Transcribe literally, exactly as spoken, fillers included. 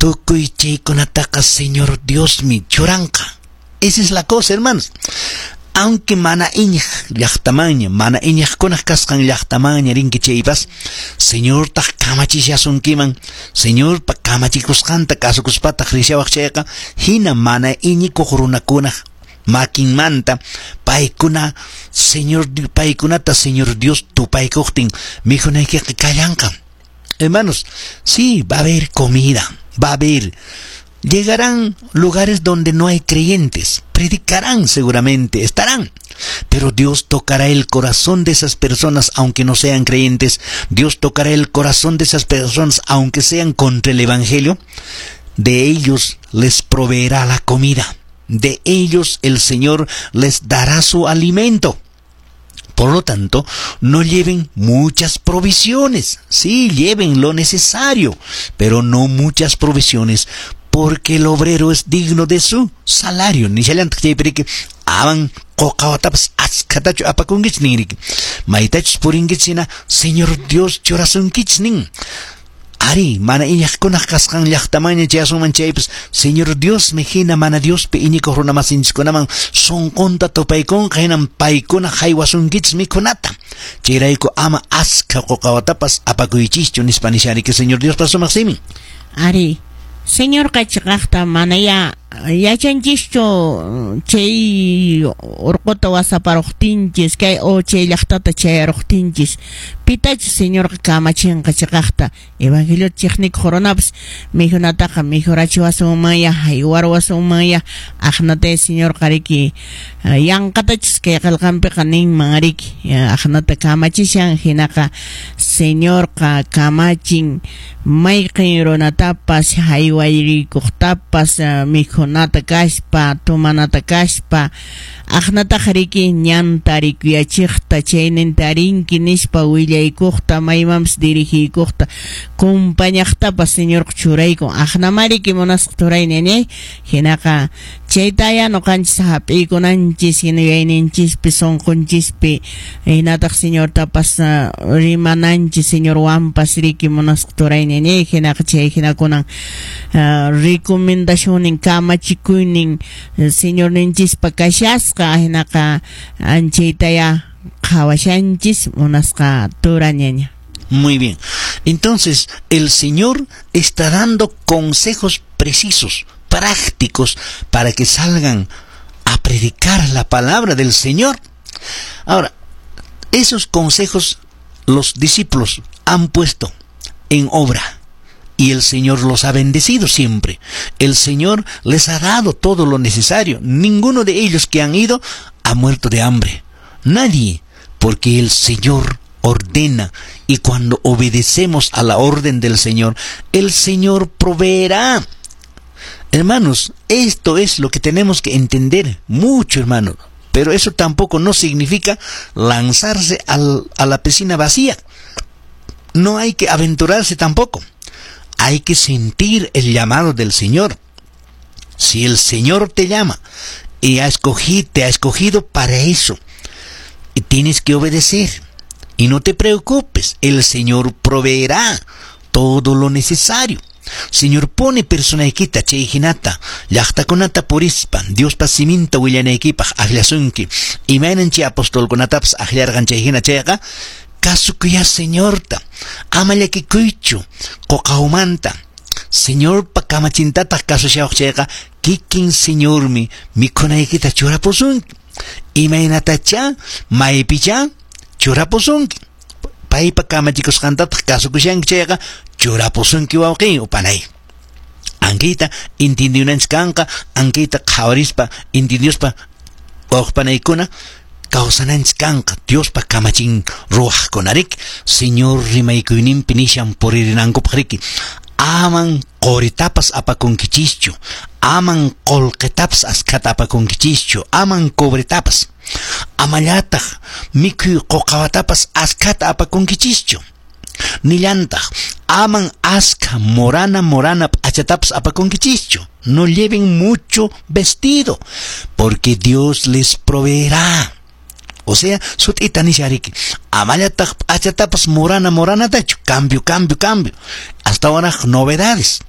Tukuy chaykunataqa Señor Diosmi churanqa. Esa es la cosa, hermanos. Aunque mana iñiq llaqtamanña, mana iñiqkunaq kasqan llaqtamanña rinki chaypas, Señortaq kamachishasunkiman, Señorpa kamachikusqanta kasukuspataq rishawaq chayqa, hina mana iñikuq runakunaq makinmanta paykuna Señor paykunata Señor Dios tupaykuqtin mikhunaykiqa kallanqa. Hermanos, sí, va a haber comida, va a haber. Llegarán lugares donde no hay creyentes, predicarán seguramente, estarán. Pero Dios tocará el corazón de esas personas aunque no sean creyentes. Dios tocará el corazón de esas personas aunque sean contra el Evangelio. De ellos les proveerá la comida. De ellos el Señor les dará su alimento. Por lo tanto, no lleven muchas provisiones. Sí, lleven lo necesario, pero no muchas provisiones, porque el obrero es digno de su salario. Nishallantaq chaypiriki aman quqawatapas achkatachu apakunkichis ninriki. Maytachus purinkichis hina Señor Dios churasunkichis nin. Ari, mana iñiqkunaq kasqan llaqtamanña chayasunman chaypas, Señor Diosmi hina mana Diospi iñikuq runa masinchikkunaman sunqunta tupaykunqa hinam paykuna haywasunkichis mikhunata. Chayrayku ama askha quqawatapas apakuychischu nispa nishariki Señor Diospa sumaq simin. Ari, Señorqa chiqaqta manaya yachanchischu chay urquta wasaparuqtinchis kay o chay llaqtata chayaruqtinchis pitachus Señorqa kamachinqa chiqaqta evangelio chiqnikuq runapas mikhunataqa mikhurachiwasunmanya haywarwasunmanya aqnata Señorqa riki yanqatachus kay qillqanpiqa ninman riki aqnata kamachishan hinaqa Señorqa kamachin mayqin runatapas haywayrikuqtapas mikhunata kaspa tumanata kaspa aqnataqa riki ñanta rikuyachiqta chayninta rinki nispa willaykuqta maymanpas dirigiykuqta kumpañaqtapas Señorqa churaykun aqnamariki munasqa turayni ñay hinaqa chaytaya ñuqanchis hap'iykunanchis hina yuyayninchispi sunqunchispi hinataq Señortapas rimananchis Señorwanpas riki munasqa turayni ñay hinaqa chay hinakunan recomendacionnin kamachikuynin Señorninchispa kashasqa hinaqa anchaytaya qhawashanchis munasqa turañaña. Muy bien. Entonces, el Señor está dando consejos precisos, prácticos, para que salgan a predicar la palabra del Señor. Ahora, esos consejos los discípulos han puesto en obra y el Señor los ha bendecido siempre. El Señor les ha dado todo lo necesario. Ninguno de ellos que han ido ha muerto de hambre. Nadie, porque el Señor ordena, y cuando obedecemos a la orden del Señor, el Señor proveerá. Hermanos, esto es lo que tenemos que entender mucho, hermano. Pero eso tampoco no significa lanzarse al, a la piscina vacía. No hay que aventurarse tampoco. Hay que sentir el llamado del Señor. Si el Señor te llama y ha escogido, te ha escogido para eso, y tienes que obedecer. Y no te preocupes, el Señor proveerá todo lo necesario. Señor pone personaykita chay hinata llaqtakunata purispa Diospa siminta willanaykipaq akllasunki imaynan chay apostolkunatapas akllarqan chay hina chayqa kasukuya Señorta ama llakikuychu quqawmanta Señorpa kamachintataq kasushawaq chayqa kikin Señormi mikhunaykita churapusunki imaynatacha maypicha churapusunki paypa kamachikusqantataq kasukushanki chayqa churapusunki wawqin upanay ankita intindiyunanchis kanqa ankita qhawarispa intindiyuspa wawqpanaykuna kawsananchis kanqa Diospa kamachin ruwaqkuna riki Señor rimaykuyninpi nishan puririnankupaq riki aman qoritapas apakunkichischu aman qullqitapas askhata apakunkichischu aman cobretapas amallataq mikhuy quqawatapas askhata apakunkichischu nillantaq aman askha morana morana p'achatapas apakunkichischu no lleven mucho vestido porque Dios les proveerá. O sea, sut'ita nishariki amallataq p'achatapas morana moranatachu cambio cambio cambio hasta ahora novedades.